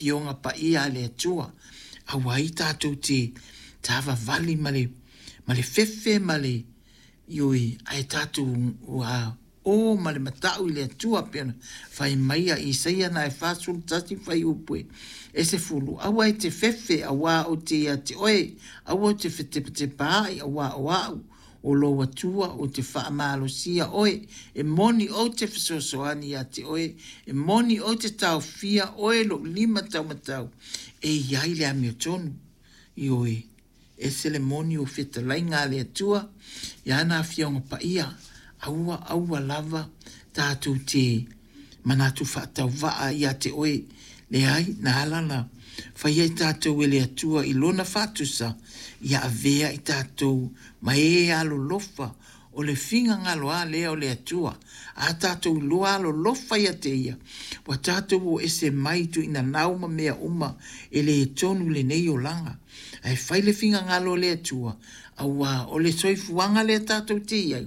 Afioga Paia a le Atua, aua ai tatou te savavali ma le, ma le fefe ma le, ioe, ae tatou ua o ma le matau i le Atua pei ona fai mai a Isaia na e 41 fuaiupu e 10, aua e te fefe auā ou te ia te oe, aua e te fetepatepaai auā o a'u o lou Atua ou te faamalosia oe, e moni ou te fesoasoani ia te oe, e moni ou te taofia oe lou lima taumatau e i ai le amiotonu. Ioe, ese le moni o fetalaiga a le Atua i ana Afioga Paia, aua aua lava tatou te manatu faatauvaa ia te oe. Leai, na ala ona faia i tatou e le Atua i Lona faatusa, ia avea i tatou ma e alolofa, o le finagalo lava lea o le Atua. A tatou iloa alolofa ia te Ia, ua tatou o ese mai tuinanau ma mea uma e le tonu i lenei olaga. Ae fai le finagalo o le Atua, auā o le soifuaga lea tatou te i ai,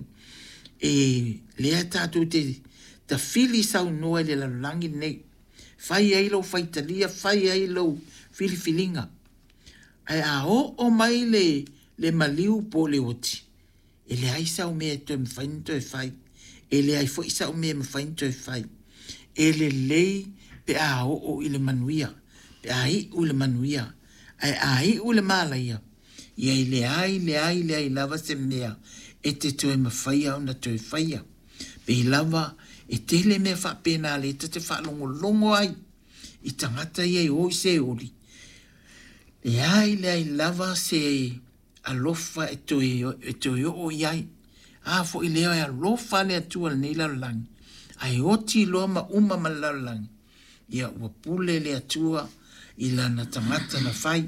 e lea tatou te tafili saunoa i le lalolagi lenei. Fai ai lou faitalia, fai ai lou filifiliga. Ae a oo mai le, le maliu po o le oti, e leai sau mea e toe mafai ona toe fai. E leai foi sau mea e mafai ona toe fai. E lelei pe a oo i le manuia, pe a iu i le manuia. Ae a iu i le malaia, ia e leai, leai, leai lava se mea e te toe mafaia ona toe faia. Pei lava e tele mea faapena lea ta te faalogologo ai i tagata ia e o i Seoli, leai leai lava se alofa e toe, e toe oo i ai. A foi lea e alofa le Atua i lenei lalolagi, ae oti loa ma uma ma le lalolagi, ia ua pule le Atua i lana tagata na fai,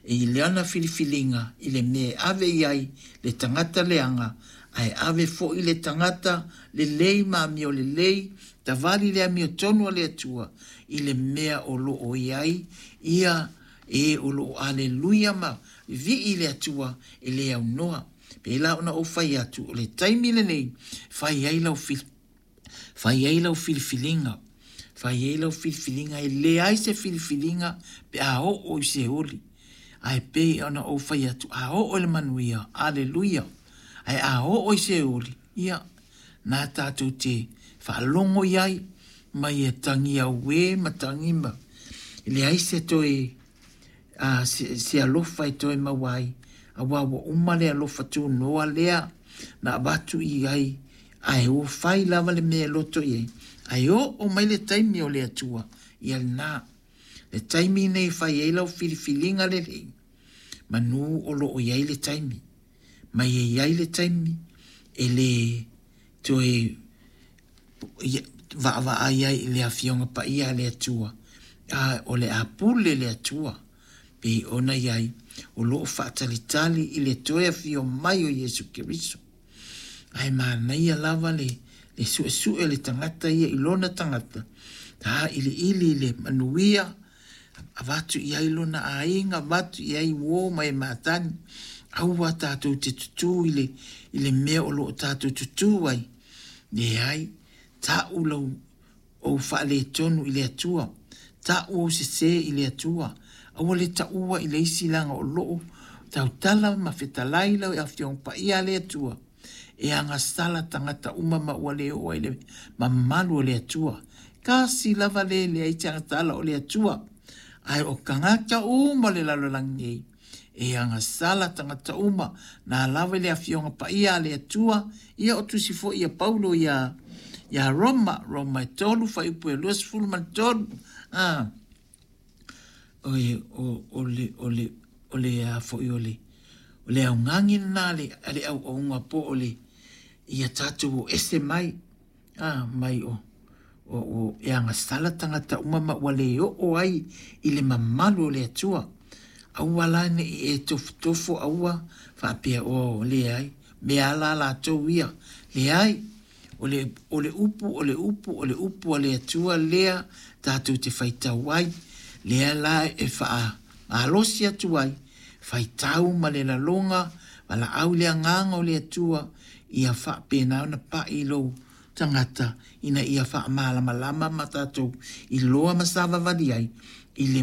i lana filifiliga i le mea e ave i ai le tagata leaga, ae ave foi le tagata lelei ma amio lelei, tavali le amiotonu a le Atua i le mea o lo o i ai ia e o lo o aleluia ma vivii i le Atua e le aunoa. Pei la ona ou fai atu, o le taimi lenei, fai ai lau Fai ai lau filifiliga, fai ai lau filifiliga, e leai se filifiliga pe a oo i Seoli. Ae pei ona ou fai atu, a oo i le manuia, aleluia. Ae a oo i Seoli, ia, na tatou te faalogo i ai, ma ia tagi auē ma tagi ma leai se toe a se, se alofa e toe maua ai, auā ua uma le alofa tunoa lea na avatu i ai, ae ua fai lava le mea e loto i ai, ae oo mai le taimi o le Atua, ia lena. Le taimi nei e fai ai lau filifiliga lelei, manu o lo o i ai le taimi. Ma e i ai le taimi e le toe vaavaai ai i le Afioga Paia a le Atua, a o le a pule le Atua pei ona i ai o lo o faatalitali i le toe afio mai o Iesu Keriso. Ae manaia lava le, le suesue o le tagata ia i lona tagata, tāiliili i le manuia, avatu i ai lona aiga, avatu i ai uō ma e matagi, aua tatou te tutū i le, i le mea o lo o tatou tutū ai. Leai, ta'u lau ou faaletonu i le Atua, ta'u ou sesē i le Atua, aua le ta'ua i le isi leaga o lo'o tautala ma fetalai lau Afioga Paia a le Atua, e agasala tagata uma ma ua le oo ai le mamalu o le Atua. Kasi lava le leai se agasala o le Atua, ae o tagata uma o le lalolagi nei, e agasala tagata uma, na lava i le Afioga Paia a le Atua, ia o tusi foi ia Paulo ia ia Roma, Roma e 3, fuaiupu e 23, a, o, o, o, le, o, le, o le a foi o le, o le augani lena a le, a le auauga po o le, ia tatou o ese mai, a, mai o, o, o e agasala tagata uma ma ua le oo ai i le mamalu o le Atua. Aua la ne i e tofotofo aua faapea o leai, mea ala latou ia. Leai, o le, o le upu, o le upu, o le upu a le Atua lea tatou te faitau ai, lea la e faamalosi atu ai, faitau ma le laloga, valaau i le agaga o le Atua, ia faapena ona pai i lou tagata ina ia faamalamalama ma tatou iloa ma savavali ai i le.